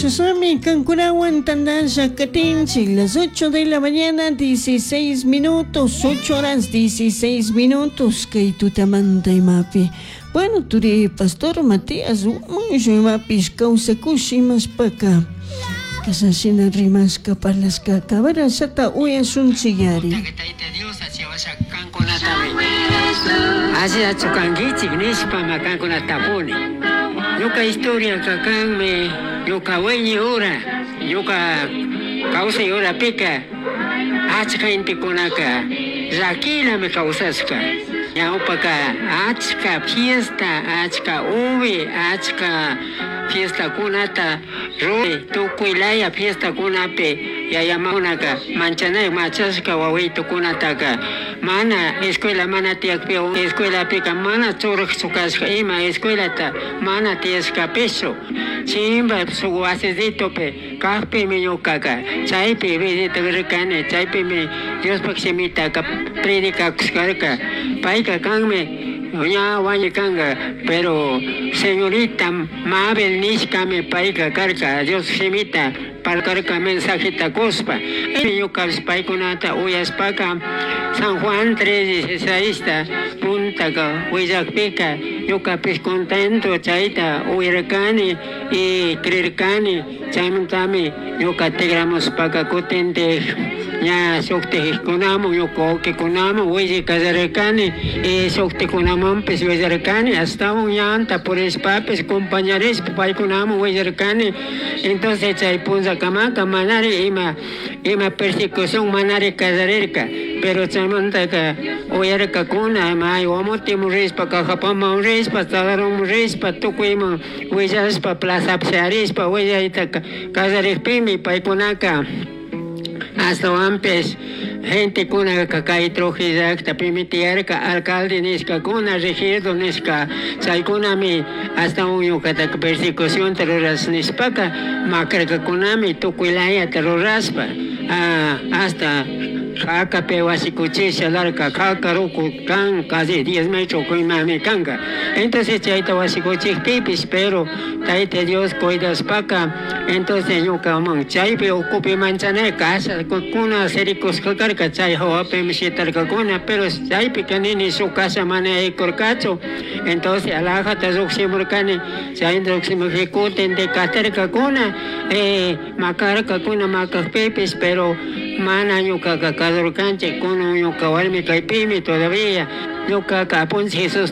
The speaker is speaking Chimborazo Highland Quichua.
Chashnami kankunawan tandasha katinchik las 8 de la mañana 16 minutos, 8 horas 16 minutos kay tutamanta imapi. Bueno, turi pastor Matías Huamanllo imapish kawsakush imashpaka kashashina rimashka parlashka kabarashata uyashunchik-yari. Tayta Dios kankunatami allillachu kankichik nishpama kankunata tapuni. Ñuka historiaka kanmi ñuka wiñay ura ñuka kawsay urapika achka gentekunaka llakilami kawsashka ñawpaka achka fiesta achka uvi achka fiestakunata ruray tukuy laya fiestakunapi yaya mamakunaka manchanay machashka wawitukunataka mana escuela mana tiyakpi escuelapika mana churakchu kashka ima escuelata mana tiyashkapischu chimba shuk wasisitupi kakpimi ñukaka chaypi visitarirkani chaypimi Diospuk shimitaka predicakushkarka payka kanmi ña wañukanka pero señorita Mabel nishkami payka karka Dios shimita parlarka mensajeta kushpa ñukapish paykunata uyashpaka San Juan 3:16 puntaka willakpika ñukapish contento chayta uyarkani y creerkani chaymantami ñuka tigramushpaka kutintik ña shuktikkunaman ñuka wawkikunaman willay kallarirkani y shuktikunamanpish willarkani ashtawan ñanta purishpapish compañarishpa paykunaman willarkani entonces chay punllakamaka manari ima ima persecución manari kallarirka pero chaymantaka uyarkakuna may Guamoteman rishpa Cajapaman rishpa Tagarunman rishpa tukuyman willashpa plazapi sharishpa willayta kallarikpimi paykunaka ashtawanpish gentekunaka kay Trujillo llaktapimi tiyarka alcalde nishkakuna regidor nishka chaykunami ashtawan ñukataka persecucionta rurash nishpaka makarkakunami tukuy layata rurashpa hasta jakapi wasi kuchisha larka jaka ruku kan casi 10 metros imami kanka entonces chayta wasi kuchikpipish pero Tayta Dios cuidashpaka entonces ñukaman chaypi ukupi manchanay kashakuna sirikushka karka chay hawapimi shitarkakuna pero chaypika nini shuk kasha mana yaykurkachu entonces alajata llukshimurkani chay llukshimukpi kutintik katirkakuna makarkakuna makakpipish pero mana ñukaka kasurkanchik kunan ñuka warmi kaypimi todavía ñukaka apunchik Jesús.